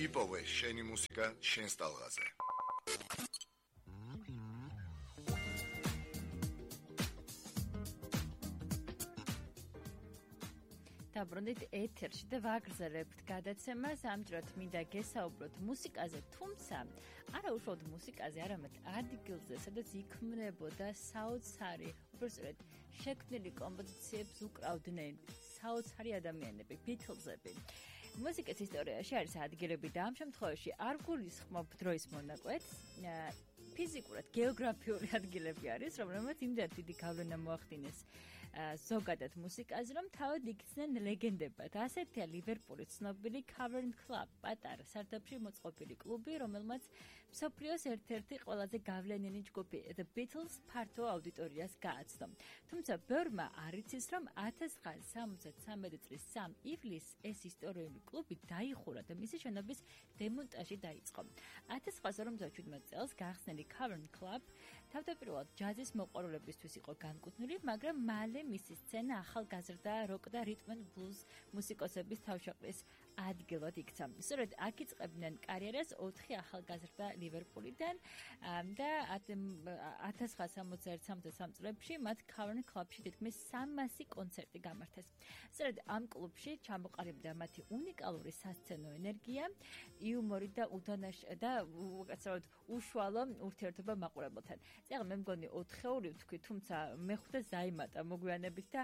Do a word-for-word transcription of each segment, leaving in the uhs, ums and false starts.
იპოვე შენი მუსიკა შენს ტალღაზე. დაბრუნდით ეთერში და ვაგრძელებთ გადაცემას. ამჯერად მინდა გესაუბროთ მუსიკაზე, თუმცა არა უშუალოდ მუსიკაზე, არამედ ადგილზე, სადაც იქმნებოდა საოცარი, უბრალოდ შექმნილი კომპოზიციებს უკრავდნენ საოცარი ადამიანები, ბითლზები. მუსიკის ისტორიაში არის ადგილები და ამ შემთხვევაში არ გულისხმობ დროის მონაკვეთს, ფიზიკურად გეოგრაფიული ადგილები არის, რომელმაც იმდენად დიდი გავლენა მოახდინეს ზოგადად მუსიკაზე, რომ თავად იქცნენ ლეგენდებად. ასეთია ლივერპულის ცნობილი Cavern Club, პატარა სარდაფში მოწყობილი კლუბი, რომელმაც მსოფლიოს ერთ-ერთი ყველაზე გავლენიანი ჯგუფი The Beatles ფართო აუდიტორიას გააცნო. თუმცა ბევრმა არ იცის, რომ ათას ცხრაასი სამოცდათი სამი წლის სამი ივლისს ეს ისტორიული კლუბი დაიხურა და მისი შენობის დემონტაჟი დაიწყო. ათას ცხრაასი ორმოცდაშვიდმეტ წელს გახსნილი Cavern Club თავდაპირველად ჯაზის მოყვარულებისთვის იყო განკუთვნილი, მაგრამ მალე მისი სცენა ახალგაზრდა როკ და რიტმ and blues მუსიკოსების თავშეყრის ადგილად იქცა. სწორედ აქ იწყებდნენ კარიერას ოთხი ახალგაზრდა ლივერპულიდან და ათას ცხრაასი სამოცდაერთი სამოცდასამი წლებში მათ Cavern Clubში თითქმის სამასი კონცერტი გამართეს. სწორედ ამ კლუბში ჩამოყალიბდა მათი უნიკალური სასცენო ენერგია, იუმორი და უდანაშ და უკაცრავად უშუალო ურთიერთობა მაყურებელთან. წეგა მე მგონი ოთხეული ვთქვი, თუმცა მეხუთე ზაიმატა მოგვიანებით და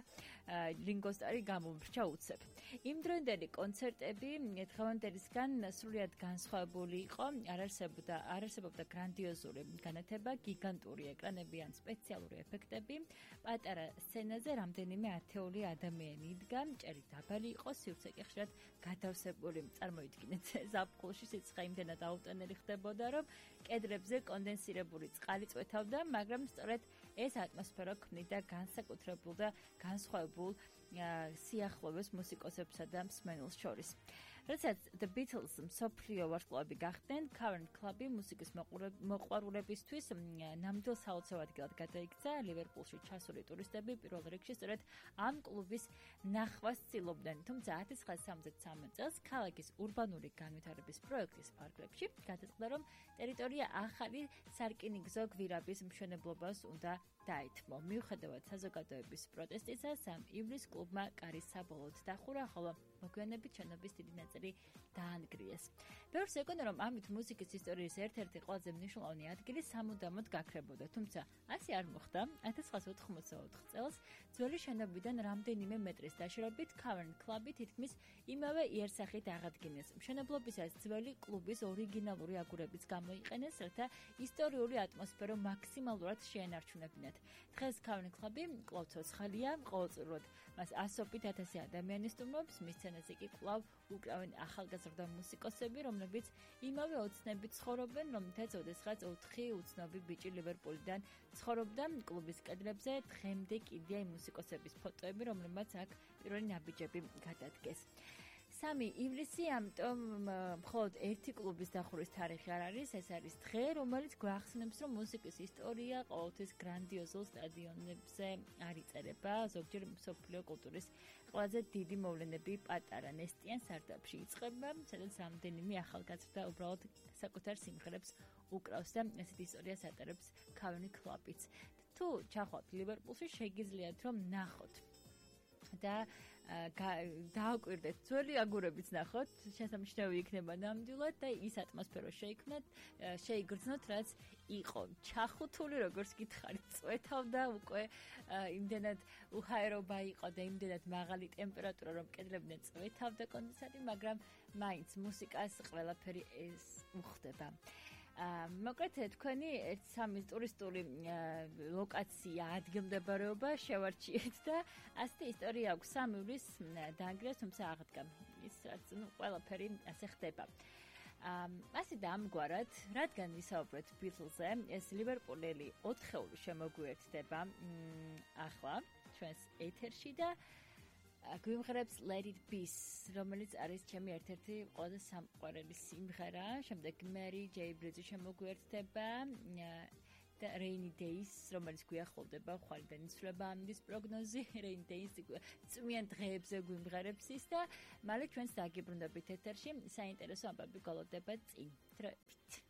ლინგოსტარი გამომრჩა უცებ. იმ დროინდელი კონცერტები დღევანდელისგან სრულიად განსხვავებული იყო, არ არსებობდა არ არსებობდა გრანდიოზული განათება, გიგანტური ეკრანები ან სპეციალური ეფექტები. პატარა სცენაზე რამდენიმე ათეული ადამიანი იდგა, ჭერი დაბალი იყო, სივრცე კი ხშირად გადავსებული. წარმოიდგინეთ, ზაფხულში სიცხე იმდენად აუტანელი ხდებოდა, რომ კედლებზე კონდენსირებული წყალი წვეთავდა, მაგრამ სწორედ ეს ატმოსფერო ქმნიდა განსაკუთრებულ და განსხვავებულ სიახლოვეს მუსიკოსებსა და მსმენელს შორის. როდესაც The Beatles მსოფლიო ვარსკვლავები გახდნენ, Cavern Club-ი მუსიკის მოყვარულებისთვის ნამდვილ საოცარ ადგილად გადაიქცა. ლივერპულში ჩასული ტურისტები პირველ რიგში სწორედ ამ კლუბის ნახვას ცდილობდნენ. თუმცა ათას ცხრაასი სამოცდათი სამი წელს ქალაქის ურბანული განვითარების პროექტის ფარგლებში გადაწყდა, რომ ტერიტორია ახალი სარკინიგზო გვირაბის მშენებლობას უნდა დაეთმო. მიუხედავად საზოგადოების პროტესტისა, სამი ივლისს კლუბმა კარი საბოლოოდ დახურა, ხოლო მოგვიანებით შენობის დიდი ნაწილი დაანგრიეს. ბევრს ეკონა, რომ ამით მუსიკის ისტორიის ერთ-ერთი ყველაზე მნიშვნელოვანი ადგილი სამუდამოდ გაქრებოდა, თუმცა ასე არ მოხდა. ათას ცხრაასი ოთხმოცდაოთხ წელს ძველი შენობიდან რამდენიმე მეტრის დაშორებით Cavern Club-ი თითქმის იმავე იერსახით აღადგინეს. მშენებლობისას ძველი კლუბის ორიგინალური აგურებიც გამოიყენეს, რათა ისტორიული ატმოსფერო მაქსიმალურად შეენარჩუნებინათ. დღეს Cavern Club-ი კვლავ ცოცხალია, ყოველწლიურად მას ასობით ათასი ადამიანი სტუმრობს, მის სცენაზე კი კვლავ უკრავენ ახალგაზრდა მუსიკოსები, რომლებიც იმავე ოცნებით ცხოვრობენ, რომლითაც ოდესღაც ოთხი უცნობი ბიჭი ლივერპულიდან ცხოვრობდა. კლუბის კედლებზე დღემდე კიდია იმ მუსიკოსების ფოტოები, რომლებმაც აქ პირველი ნაბიჯები გადადგეს. სამი ივლისი, ამიტომ მხოლოდ ერთი კლუბის დახურვის თარიღი არ არის, ეს არის დღე, რომელიც გვახსენებს, რომ მუსიკის ისტორია ყოველთვის გრანდიოზულ სტადიონებზე არ იწერება. ზოგჯერ მსოფლიო კულტურის ყველაზე დიდი მოვლენები პატარა ნესტიან სარდაფში იწყება, სადაც რამდენიმე ახალგაზრდა უბრალოდ საკუთარ სიმღერებს უკრავს და ესეთი ისტორიას ატარებს Cavern Club-იც. თუ ჩახვალთ ლივერპულში, შეგიძლიათ რომ ნახოთ და დააკვირდეთ, ძველი აგურებიც ნახოთ, შესამჩნევი იქნება ნამდვილად და ის ატმოსფერო შეიქმნათ, შეიგრძნოთ, რაც იყო ჩახუთული, როგორც გითხარით, წვეთავდა უკვე იმდენად უჰაერობა იყო და იმდენად მაღალი ტემპერატურა, რომ კედლებიდან წვეთავდა კონდენსატი, მაგრამ მაინც მუსიკას ყველაფერი ეს უხდება. მოკლედ თქვენი ერთ სამი ტურისტული ლოკაცია, ადგილმდებარეობა შევარჩიეთ და ასეთი ისტორია აქვს. სამი ივლისს დაანგრიეს, თუმცა აღდგა. ის რაც ნუ ყველაფერი ასე ხდება. ასე და ამგვარად, რადგან ვისაუბრეთ Beatles-ზე, ეს ლივერპულელი ოთხეული შემოგვიერთდება ახლა ჩვენს ეთერში და გვიმღერებს Let It Be, რომელიც არის ჩემი ერთ-ერთი ყველაზე სამყვარელი სიმღერა. შემდეგ Mary J. Blige შემოგვიერთდება და Rainy Days, რომელიც გვიახლოვდება, ხვალიდან იცვლება ამის პროგნოზი, Rainy Days წვიან დღეებზე გვიმღერებს ის და მალე ჩვენს დაგიბრუნდებით ეთერში, საინტერესო ამბები გვალოდდება წინ. დროებით.